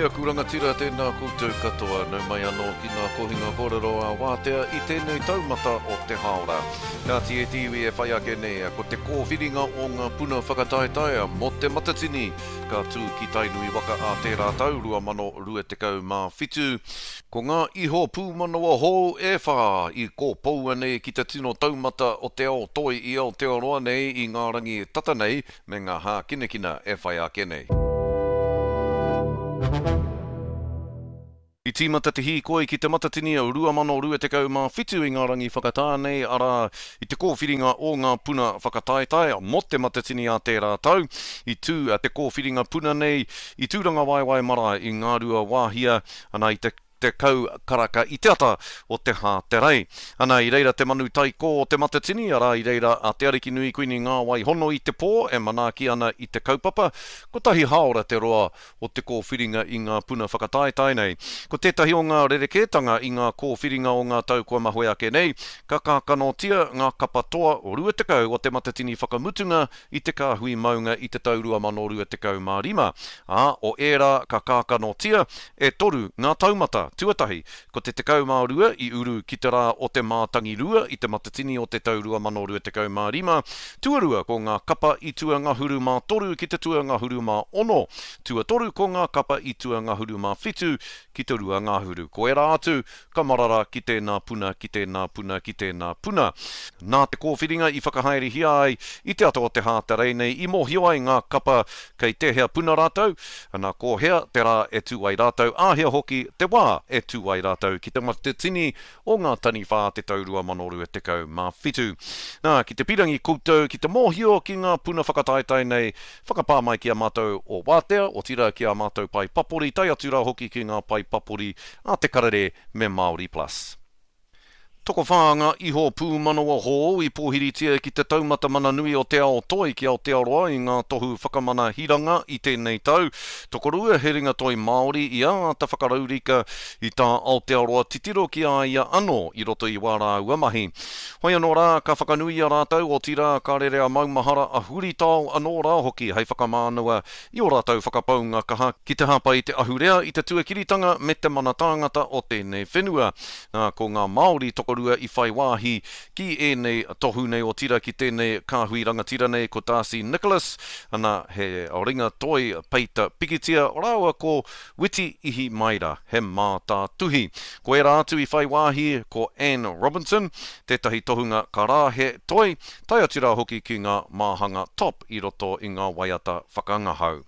aku rangatira, tēnā koutou katoa. Nau mai anō ki ngā kohinga kōrero a Wātea i tēnei taumata o te hāora. Kāti e te iwi e whai ake nei, ko te kōwhiringa o ngā puna whakataetae mō Te Matatini ka tū ki Tainui waka ā tērā tau, 2027. Ko ngā iho pūmanawa hou e whā i kōpoua nei ki te tino taumata o te ao toi i Aotearoa nei i ngā rangi tata nei me ngā hākinakina e whai ake nei. I tīmata te hīkoi ki Te Matatini 2027 i ngā rangi whakatā nei, arā, i te kōwhiringa o ngā puna whakataetae mō Te Matatini ā tērā tau. I tū te kōwhiringa puna nei i Tūrangawaewae Marae i Ngāruawāhia, ana i te 10 karaka i te ata o te Hāterei. Ana i reira te manu taikō o Te Matatini, arā i reira a Te Arikinui Kuini Ngāwai Hono i te pō e manaaki ana i te kaupapa. Kotahi hāora te roa o te kōwhiringa i ngā puna whakataetae nei. Ko tētahi o ngā rerekētanga i ngā kōwhiringa o ngā tau kua mahue ake nei, ka kākanotia ngā kapa toa 20 o Te Matatini whakamutunga i te kāhui maunga i te tau 2025, ā, o ērā ka kākanotia, e toru ngā taumata. Tuatahi, ko te 12 i uru ki te rā o te mātangirua i Te Matatini o te tau 2025, tuarua ko ngā kapa i tuangahuru mā toru ki te tuangahuru mā ono, tuatoru ko ngā kapa i tuangahuru mā whitu ki te ruangahuru. Ko ērā atu, ka marara ki tēnā puna, ki tēnā puna, ki tēnā puna. Nā te kōwhiringa i whakahaerehia ai i te ata o te Hāterei nei i mōhio ai ngā kapa kei tēhea puna rātou, ana ko hea te rā e tū ai rātou, āhea hoki te wā e tū ai rātou ki te Matatini o ngā Taniwha te tau 2027. Nā, ki te pirangi koutou ki te mōhio ki ngā puna whakataetae nei, whakapā mai ki a mātou o Wātea, otirā ki ā mātou pae papori, tae atu rā hoki ki ngā pae papori a Te Karere me Māori Plus. Tokowhā ngā iho pūmanawa hou i pōhiritia ki te taumata mana nui o te ao toi ki Aotearoa i ngā tohu whakamana hiranga i tēnei tau. Tokorua he ringatoi Māori i āta whakaraurika i tā Aotearoa titiro ki a ia anō i roto i wā rāua mahi. Hoi anō rā, ka whakanuia rātou, otirā ka rere a maumahara a huritao anō rā hoki hei whakamānawa i ō rātou whakapaunga kaha ki te hāpai i te ahurea, i te tuakiritanga me te mana tāngata o tēnei whenua. Nā, ko ngā Māori tokorua i whai wāhi ki ēnei tohu nei otirā ki tēnei kāhui rangatira nei ko Darcy Nicholas, ana, he ringa toi peita pikitia, rāua ko Witi Ihimaera, he mātātuhi. Ko ērā atu i whai wāhi ko Anne Robinson, tētahi tohunga karāhe toi, tae atu rā hoki ki ngā māhanga top i roto i ngā waiata whakangahau.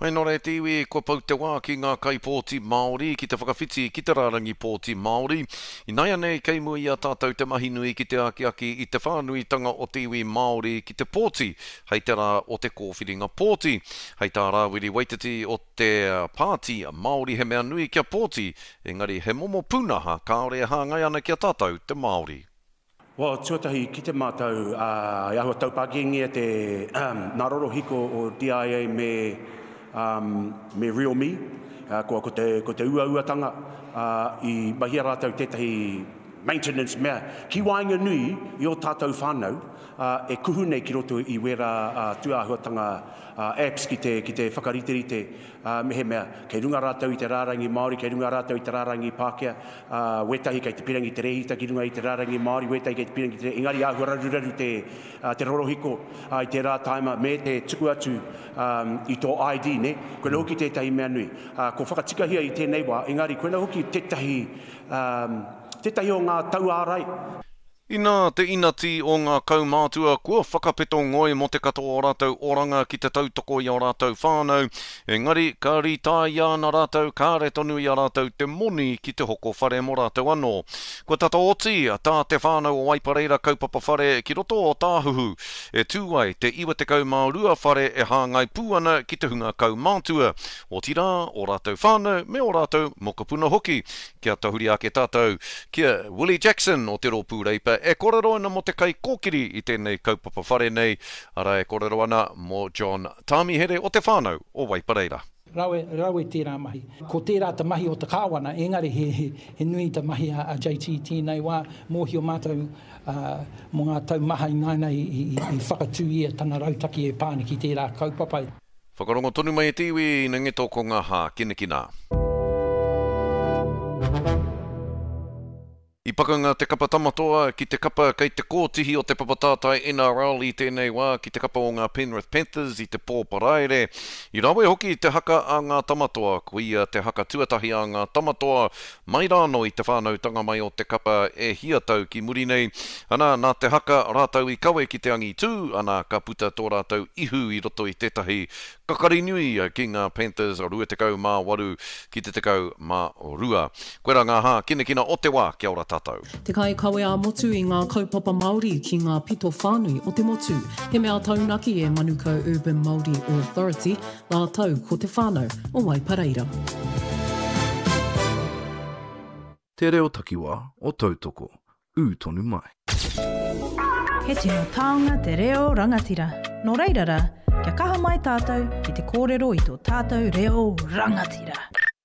Hoi nō reira te iwi, kua pau te wā ki ngā kaipōti Māori ki te whakawhiti ki te rārangi pōti Māori. Inaianei kei mua i a tātou te mahi nui ki te akiaki i te whānuitanga o te iwi Māori ki te pōti hei te rā o te kōwhiringa pōti. Hei tā Rāwiri Waititi o te Pāti Māori he mea nui kia pōti, engari he momo pūnaha kāore e hāngai ana ki a tātou te Māori. Well, tuatahi, kite mātou, ā, i āhua taupākīngia te, nā rorohiko o DIA me, um, me RealMe, ā, ko, ko te, ko te uauatanga, ā, i mahia rātou tētahi maintenance mea ki waenganui i ō tātou whānau, ā, e kuhu nei ki roto i wērā, ā, tūāhuatanga, ā, apps ki te, ki te whakariterite, ā, mehemea, kei runga rātou i te rārangi Māori, kei runga rātou i te rārangi Pākehā, ā, wētahi kei te pirangi te rēhita ki runga i te rārangi Māori, wētahi kei te pirangi te, engari āhua raruraru te, ā, te rorohiko, ā, i tērā tāima, me te tuku atu, ā, i tō ID, nē? Koinā hoki tētahi mea nui. Ā, kua whakatikahia i tēnei wā, engari koinā hoki tētahi, ā, tētahi o ngā tauārai. Inā te inati o ngā kaumātua kua whakapeto ngoi mō te katoa o rātou oranga ki te tautoko i ō rātou whānau, engari ka rītāia ana rātou kāre tonu i a rātou te moni ki te hoko whare mō rātou anō. Kua tata oti tā te whānau o Waipareira kaupapa whare ki roto o Tāhuhu e tū ai te 92 whare e hāngai pū ana ki te hunga kaumātua, otirā, ō rātou whānau me ō rātou mokopuna hoki. Kia tahuri ake tātou ki a Willie Jackson o te Rōpū Reipa e kōrero ana mō te kaikōkiri i tēnei kaupapa whare nei, arā e kōrero ana mō John Tāmihere o te whānau o Waipareira. Rawe, rawe tērā mahi. Ko tērā te mahi o te Kāwana, engari he, he, he nui te mahi a, a JT i tēnei wā. Mōhio mātou ā, mō ngā tau maha ināianei i, i, i whakatū ia tana rautaki e pā ana ki tērā kaupapa. Whakarongo tonu mai e te iwi, ina ngeto ko nga hākinakina. I pakanga te kapa Tamatoa ki te kapa kei te kōtihi o te papa tātai NRL i tēnei wā ki te kapa o ngā Penrith Panthers i te pō Paraire. I rawe hoki te haka a ngā Tamatoa, koia te haka tuatahi a ngā Tamatoa mai rānō i te whānautanga mai o te kapa e hia tau ki muri nei. Ana, nā te haka rātou i kawe ki te angitū, ana, ka puta tō rātou ihu i roto i tētahi Kakari nui ki ngā Panthers 28 ki te 12. Koirā ngā hākinakina o te wā, kia ora tātou. Te kaikawe ā-motu i ngā kaupapa Māori ki ngā pito whānui o te motu. He mea taunaki e Manukau Urban Māori Authority rātou ko te whānau o Waipareira. Te reo takiwā o Tautoko, ū tonu mai. He tino taonga te reo rangatira. Nō reira rā, kia kaha mai tātou ki te kōrero i tō tātou reo rangatira.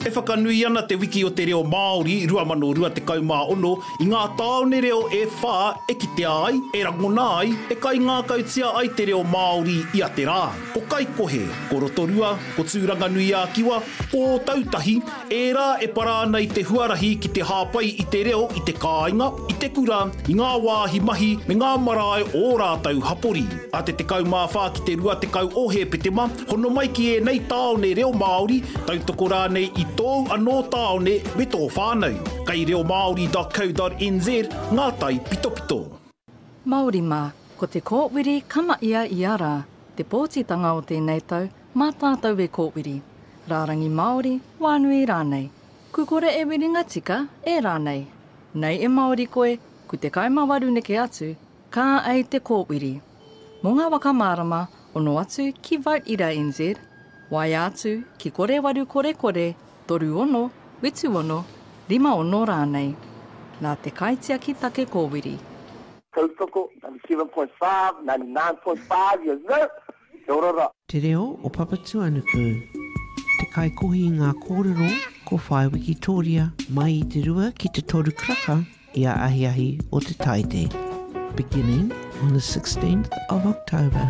E whakanui ana Te Wiki o te Reo Māori 2026 i ngā tāone reo e whā e kitea ai, e rangona ai, e kaingākautia ai te reo Māori ia te rā. Ko Kaikohe, ko Rotorua, ko Tūranganui-ā-Kiwa, ko Ōtautahi, ērā e para ana i te huarahi ki te hāpai i te reo i te kāinga, i te kura, i ngā wāhi mahi me ngā marae o ō rātou hapori. A te 14 ki te 20 o Hēpetema, hono mai ki ēnei tāone reo Māori, tautoko rānei i tōu anō tāone me tō whānau. Kei reomāori.co.nz ngā taipitopito. Māori mā, ko te kōwiri ka mahia ia rā, te pōtitanga o tēnei tau, mā tātou e kōwiri. Rārangi Māori, wānui rānei. Ku kore e wiringa tika, e rānei. Nei e Māori koe, ku te kaimāwaru neke atu, ka ei te kōwiri. Mō ngā waka mārama, ono atu ki Vote Ira NZ, waea atu ki kore waru kore kore, 36, 76, 56 rānei. Nā te kaitiaki take kōwiri. Tautoko, 97.5, 99.5, yes sir! Kia ora ra. Te reo o Papatuanuku. Te kaikohi i ngā kōrero ko Whaea Wikitōria mai i te rua ki te toru karaka ia ahiahi o te Taite. Beginning on the 16th of October.